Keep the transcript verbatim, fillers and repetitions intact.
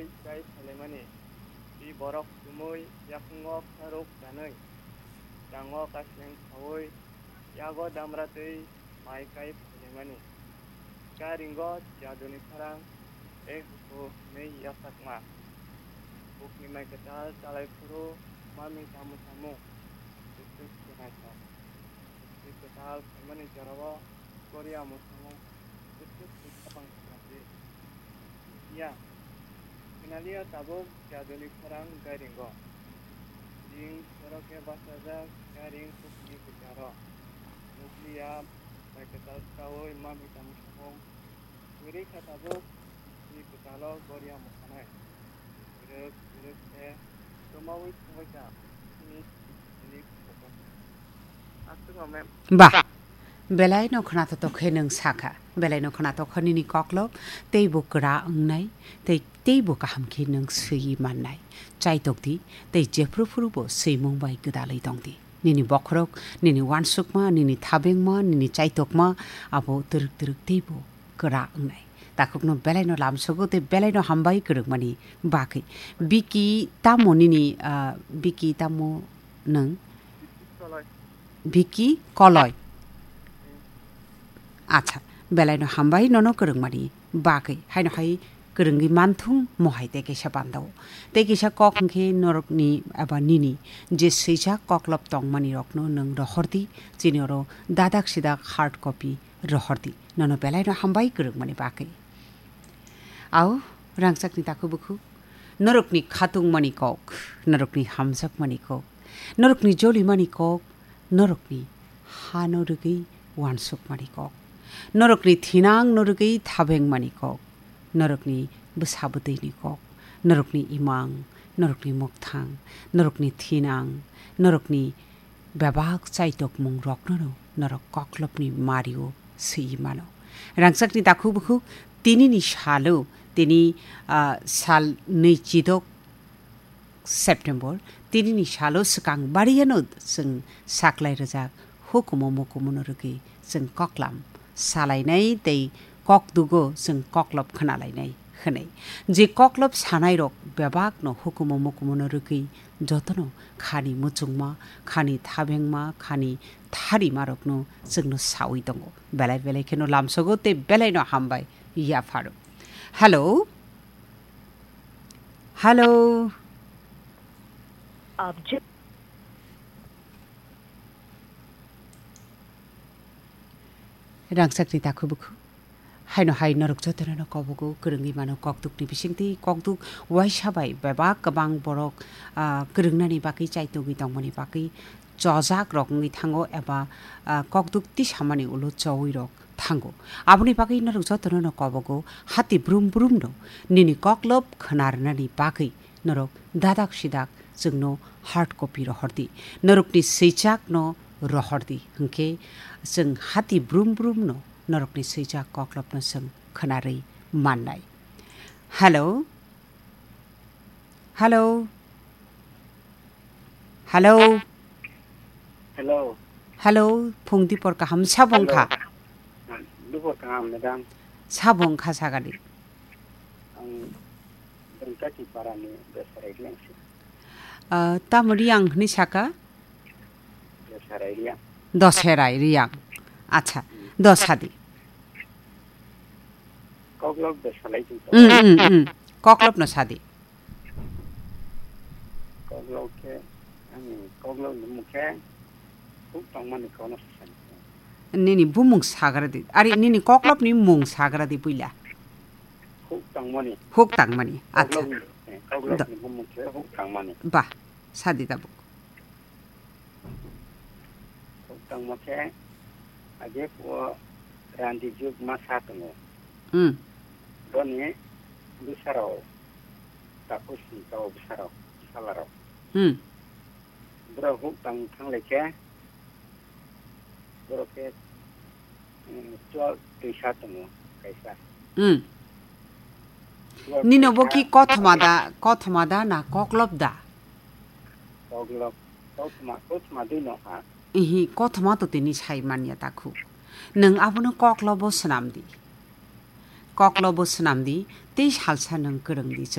Kai phaimani, twi borok chumui yakungo kharuk chanwi, chango kaseng khaui, yago damra twi mai kai phaimani. Karingo jaduni khorang, e huku hinwi yasakma. Bukni mai kwtal chalai phuru mami tamo tamo. Kuchuk se naithok. Bukni kwtal phaimani jorao Korea mwsamo kuchuk se khapang khapang se. Ya, Finaliya tabuk jaduni khorang gairingo. Jing soroke bachajak gairing kukni kwcharo. Nukliya bai kwtal saui mami tamo samung. Kwrwi kha tabuk ni kwchalo goria mwsanai. Kwrwk kwrwk se tomaui thangbaikha. Sini sini Ba, belaino khwnathok khe nwng sakha, belaino khwnathok khe nini koklop teibo kwra wngnai, tei teibo kaham khe nwng swiwi mannai. Chaitok di, tei jephru phrubo swimung bai gwdalwi tong di. Nini bokhorok, nini uansukma, nini thabengma, nini chaitokma, abo twrwk twrwk teibo kwra wngnai. Takhukno belaino lamsogo tei belaino hambai kwrwngmani bagwi. Biki tamo nini, ah, Biki tamo nwng? Biki Koloi. Acha, belaino hambai nono kwrwngmani bagwi. Haino hai kwrwngwi manthung mohai tei kaisa bandao. Tei kaisa kok hwnkhe norokni eba nini je swijak koklop tongmani rokno nwng rohordi, chini oro dadak sidak hard copy rohordi. Nono belaino hambai kwrwngmani bagwi. Au, rangchakni takhuk bukhuk, norokni khatungmani kok, norokni hamjakmani kok, norokni jolimani kok, norokni hano rwgwi uansukmani kok, norokni thinangno rwgwi thabengmani kok, norokni bwsa bwtwini kok, norokni imang, norokni mokthang, norokni thinang, norokni bebak chaitokmung rokno norok koklopni mario swi mano. Rangchakni takhuk bukhuk tinini salo, tini, ah, sal nwi chidok September, tinini salo swkang bariano chwng saklai rwjak hukumu mukumuno rwgwi chwng koklam salainai tei kokdugo chwng koklop khwnalainai hwnwi. Je koklop sanairok bebakno hukumu mukumuno rwgwi jotono khani muchungma, khani thabengma, khani tharimarokno chwngno saui tongo. Belai belai kheno lamsogo tei belaino hambai yapharo. Hello? Hello? Object. Rangchakni takhuk bukhuk. Haino hai norok jotono no kobogo kwrwngwi mano kokdukni bisingtwi, kokduk waisa bai bebak kwbang borok, ah, kwrwngnani bagwi chaitogwi tongmani bagwi chojak rok wngwi thango eba, ah, kokduk tisamani ulo chowi rok thango. Aboni bagwi norok jotono no kobogo hati brum brum no nini koklop khwnarnani bagwi norok dadak sidak chwngno hard copy rohordi. Norokni swijak no rohordi. Hwnkhe chwng hati brum brum no norokni swijak koklopno chwng khwnarwi mannai. Hello? Hello? Hello? Hello. Hello, phung dipor kaham sabo wngkha? Hello. Dipor kaham, madam. Sabo wngkha sagadi. Ang Bengkati parani Dosharai Riyang se. Ah, tamo Riyang hwnwi saka? Dosharai Riyang. Dosharai Riyang. Acha, hmm. Dosadi. Koklop de salai tong. Hmm, hmm, hmm. Koklopno sadi. Koklop khe, ani koklopni mung khe huk tongmani kono sasani. Nini bumung sagradi. Ari nini koklopni mung sagradi puila. Huk tangmani. Huk tangmani. Acha. Koklopni, eh, koklopni bumung khe huk tangmani. Ba, sadi tabuk. Huk tangma khe age phuo randi juk ma sa tongo. Hmm. Boni bwsarok takhuk sini kao bwsarok salarok. Hmm. Borok huk tang thanglai khe borok khe, eh, twelve twisa tongo kaisa. Hmm. Twelve Nino bo twisa. Ki kothoma da, kothoma da na koklop da? Koklop, kothoma, kothoma dui no ha. Ihi, kothoma to tini sai manya takhuk. Nwng abono koklobo swnam di. Koklobo swnam di, tei salsa nwng kwrwng di chwng.